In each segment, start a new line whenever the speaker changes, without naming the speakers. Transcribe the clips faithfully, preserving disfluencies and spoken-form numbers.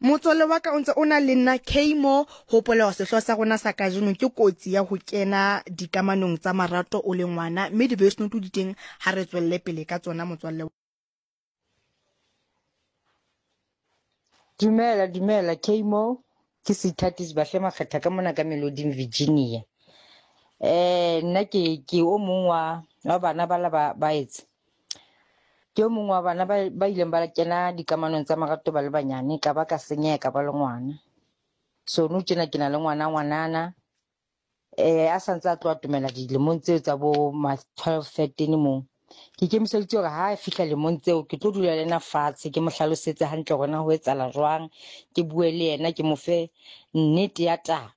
Motswalle wa ka o ntse o na le nna Kmo. Hopola hore sehlooho sa rona sa kajeno ke kotsi ya ho kena dikamanong tsa marato o le ngwana, mme di-voice note di teng, ha re tswelle pele ka tsona motswalle.
Dumela, dumela Kmo, ke Seithati Sebahle Makgetha ka mona ka Meloding Virginia. Eh nna ke ke o mong wa wa bana ba la ba ba etse. Ke o mong wa bana ba ba ileng ba kena dikamanong tsa marato ba le banyane, ka ba ka senyeha ka ba le ngwana. So nou tjena ke na le ngwana ngwanana, eh a santse a tlo atomela dilemong tseo tsa bo ma twelve thirteen moo. Ke ikemiseditse hore ha a fihla lemong tseo ke tlo dula le ena fatshe, ke mo hlalosetse hantle hore na ho etsahala jwang, ke bue le yena, ke mo fe nnete ya taba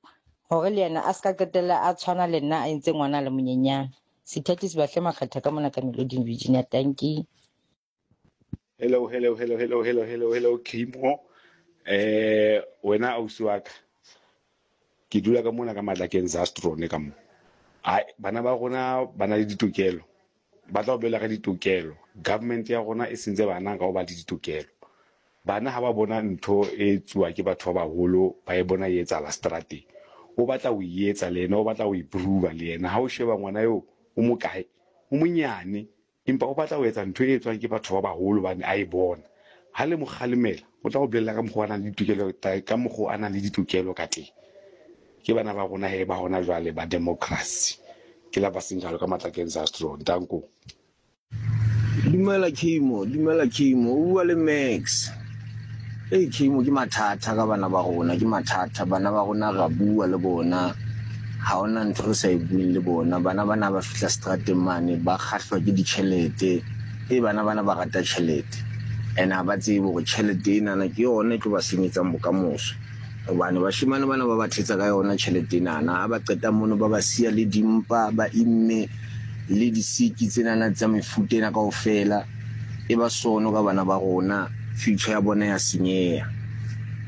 hore le yena a ska qetella a tshwana le nna a entse ngwana a le monyenyane. Seithati Sebahle Makgetha ka mona ka Meloding Virginia. Tanki.
Hello, hello, hello, hello, hello, hello, hello, Kmo. Eh, wena ausi wa ka. Ke dula ka mona ka Matlakeng Zastrone ka mo. Ai, bana ba rona ba na le ditokelo. Ba tla o bolella ka ditokelo. Government ya rona e sentse bana ka ho ba le ditokelo. Bana ha ba bona ntho e etsuwa ke batho ba baholo, ba e bona e etsahala strateng. O batla ho e etsa le yena, o batla ho e prove le yena. Ha o sheba ngwana eo o mokae, o monyane, empa o batla ho etsa ntho e etswang ke batho ba baholo hobane a e bona. Ha le mo kgalemela, o tla o bolella ka mokgwa a nang le ditokelo ka mokgwa a nang le ditokelo ka teng. Ke bana ba rona he ba hona jwale ba democracy. Ke la ba senjalo ka Matlakeng Zastron. Danko.
Dumela Kmo, dumela Kmo, o bua le Max. Ei Kmo, ke mathata ka bana ba rona, ke mathata. Bana ba rona ra bua le bona, ha hona ntho re sa e bueng le bona. Bana bana ba fihla strateng mane ba kgahlwa ke ditjhelete. E bana bana ba rata tjhelete, and ha ba tsebe hore tjhelete enana ke yona e tlo ba senyetsang bokamoso. Hobane bashemane bana ba ba thetsa ka yona tjhelete enana, ha ba qeta mono ba ba siya le dimpa, ba imme le disiki tsenana tsa mefuta ena kaofela. E ba sono ka bana ba rona, future ya bona ya senyeha.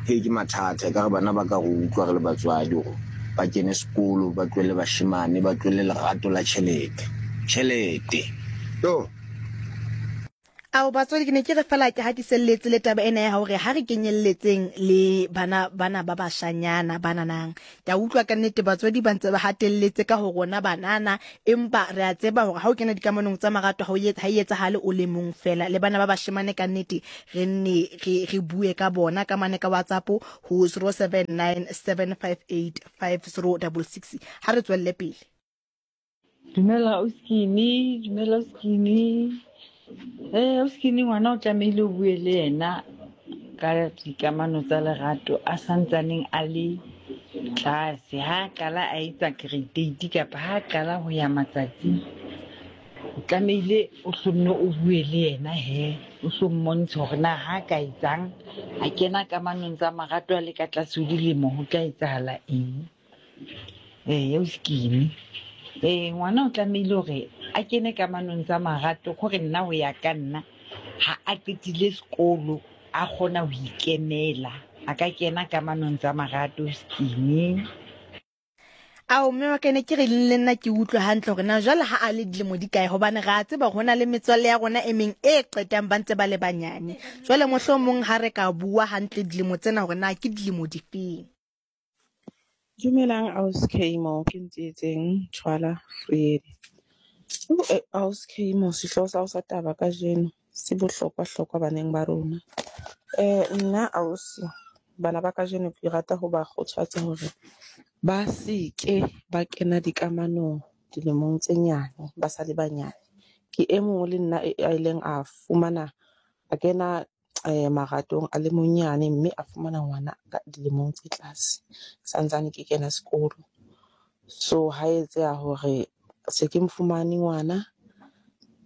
He ke mathata, ekare bana ba ka re utlwa re le batswadi hore ba kene sekolo, ba tlohelle bashemane, ba tlohelle lerato la tjhelete. Tjhelete. Yo.
Ao batswadi, ke ne ke re fela ke hatiselletse le taba ena ya hore ha re kenyelletseng le bana bana ba bashanyana bananang. Ke a utlwa ka nnete batswadi ba ntse ba hatelletse ka ho rona banana, empa re a tseba hore ha o kena dikamanong tsa marato ha o ha e etsahale o le mong fela. Le bana ba bashemane ka nnete re nne re re bue ka bona ka mane ka WhatsApp ho zero seven nine seven five eight five zero double six. Ha re tswelle pele.
Dumela Oskini, dumela Oskini. Eh Oskini, ngwana o tlamehile o bue le yena ka dikamano tsa lerato a santsaneng a le tlase. Ha qala a etsa grade eight kapa ha qala ho ya matsatsing, o tlamehile o hlonne o bue le yena he, o hlo mmontshe hore na ha ka etsang a kena kamanong tsa marato a le ka tlase ho dilemo ho tla etsahala eng. Eh Oskini, eh ngwana o tlamehile hore a kene kamanong tsa marato, hore nna ho ya ka nna ha a qetile sekolo a kgona ho ikemela, a ka kena kamanong tsa marato Oskini.
Ao mme wa ka ne ke re le nna ke utlwe hantle hore na jwale ha a le dilemo di kae, hobane re a tseba hore ho na le metswalle ya rona e meng e qetang ba ntse ba le banyane. Jwale mohlomong ha re ka bua hantle dilemo tsena hore na ke dilemo difeng.
Dumelang ausi Kmo, ke Ntsietseng Tshwala Vrede. Ausi Kmo, sehlooho sa hao sa taba kajeno se bohlokwa-hlokwa baneng ba rona. Eh nna ausi, bana ba kajeno ke rata ho ba kgothatsa hore ba seke ba kena dikamanong dilemong tse nyane, ba sa le banyane. Ke e mong le nna a ileng a fumana, a kena eh maratong a le monyane mme a fumana ngwana ka dilemong tse tlase, santsane ke kena sekolo. So ha etseha hore se ke mofumane ngwana,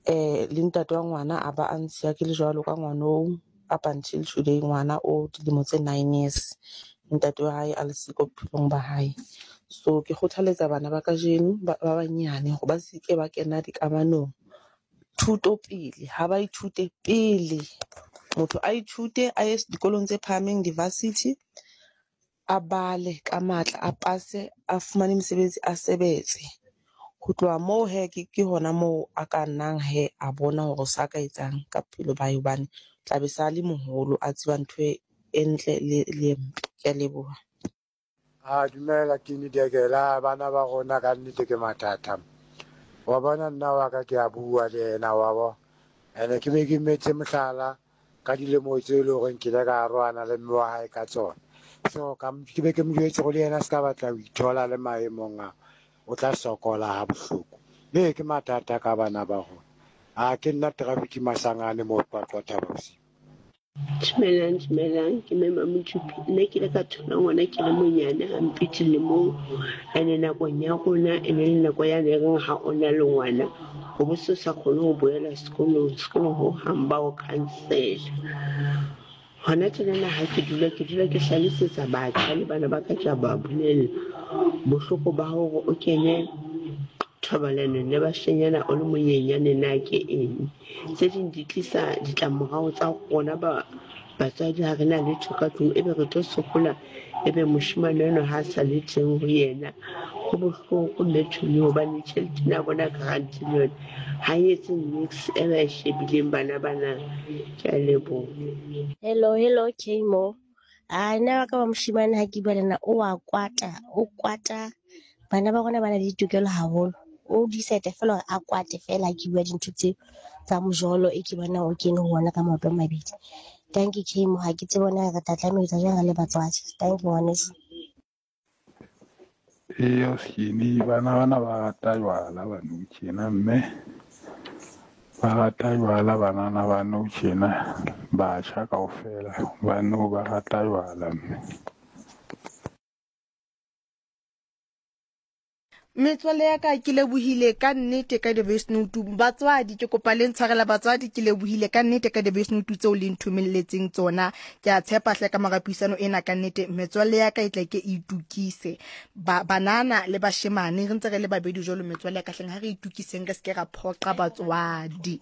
eh le ntate wa ngwana a ba a ntshiya ke le jwalo ka ngwana oo, up until today ngwana o dilemo tse nine years, ntate wa hae a le siko bophelong ba hae. So ke kgothaletsa bana ba kajeno ba banyane hore ba seke ba kena dikamanong. Thuto pele, ha ba ithute pele. Motho a ithute, a ye dikolong tse phahameng, di-varsity, a bale ka matla, a pase, a fumane mesebetsi, a sebetse. Ho tloha moo he, ke hona moo a ka nnang he a bona hore sa ka etsang ka bophelo ba hae, hobane tla be sa le moholo a tseba ntho e e ntle le le e mpe. Ke a leboha.
A dumela ke nidekela bana ba rona ka nnete ke mathata. Wa bona nna wa ka ke a bua le yena wa bo. Ene ke be ke metse mohlala ka dilemo tse e leng hore nkile ka arohana le mme wa hae ka tsona. So ka ke be ke mo jwetse hore le yena se ka batla ho ithola le maemong a o tla sokola ha bohloko. Ee ke mathata ka bana ba rona. A ke nna traffic Masangane mo Qwaqwa Thaba Bosiu.
Dumelang, dumelang, ke Mme Mamodupi. Nna ke ile ka thola ngwana ke le monyane hampe dilemong. Ene nakong ya rona e ne le nako yane e reng ha o na le ngwana o bo se sa kgone ho boela sekolong, sekolong hohang ba o cancel-a. Hona tjenana ha ke dula ke dula ke hlalosetsa batjha le bana ba ka ke a ba bolella bohloko ba hore o kene thobalanong le bashenyana o le monyenyane na ke eng. Tse ding di tlisa ditlamorao tsa rona ba batswadi ha re na letho ka tlung, ebe re tlo sokola, ebe moshemane enwa ha sa le teng ho yena. Ho bohloko mme Tony hobane tjhelete ena ya bona grant le yona ha e etse niks e ba e shebileng bana bana. Ke a leboha.
Hello, hello, Kmo. Ah, nna wa ka wa moshemane ha ke bua le nna o wa kwata, o kwata. Bana ba rona ba na le ditokelo haholo. O decide fela hore a kwate fela ha ke bua dintho tseo tsa mojolo e ke bonang o kene ho ona ka maoto a mabedi. Thank you, Kmo. Ha ke tsebe na re tla tlameha ho etsa jwang re le batswadi. Thank you, ngwaneso.
Eya skinny bana bana ba rata jwala ba nou tjena mme ba rata jwala banana ba nou tjena batjha kaofela ba nou ba rata jwala mme.
Metswalle ya ka ke lebohile ka nnete ka di-voice note. Batswadi ke kopa le ntshwarela batswadi, ke lebohile ka nnete ka di-voice note tseo le nthomelletseng tsona. Ke a tshepa hle ka mora puisano ena ka nnete metswalle ya ka e tla ke e itukise. Ba banana le bashemane re ntse re le babedi jwalo metswalle ya ka hleng ha re itukiseng re se ke ra phoqa batswadi.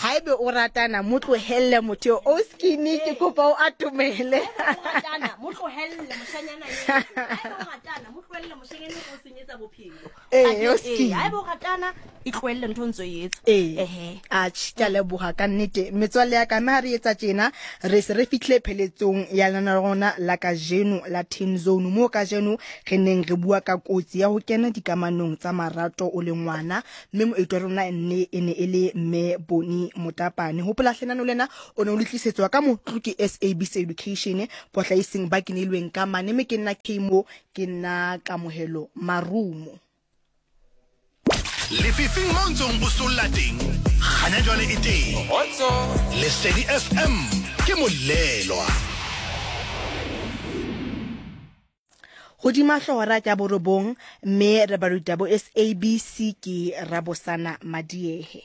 Haebe o ratana mo tlohelle motho o skinny ke kopa o atomele.
Ratana mo tlohelle moshanyana eo. Haebe o ratana mo tlohelle moshanyana o senyetsa bophelo.
Eh, o skinny.
Haebe o ratana e tlohelle ntho ntso e etsa.
Ehe. Atjhe, ke a leboha ka nnete. Metswalle ya ka mme ha re etsa tjena re se re fihle pheletsong ya lena rona la kajeno la Teen Zone mo kajeno re neng re bua ka kotsi ya ho kena dikamanong tsa marato o le ngwana mme moeti wa rona nne e ne e le mme Boni Motapane. Hopola hlenano lena o ne o le tlisetswa ka motlo ke S A B C Education bohlaiseng ba kenelweng ka mane mme ke nna Kmo ke nna Kamohelo Marumo.
Lefifing mo ntsong o solla teng kganya jwale e teng. Lesedi F M ke molelwa.
Hodima hlooho ya borobong mme re baruta bo S A B C ke Rabosana Madiehe.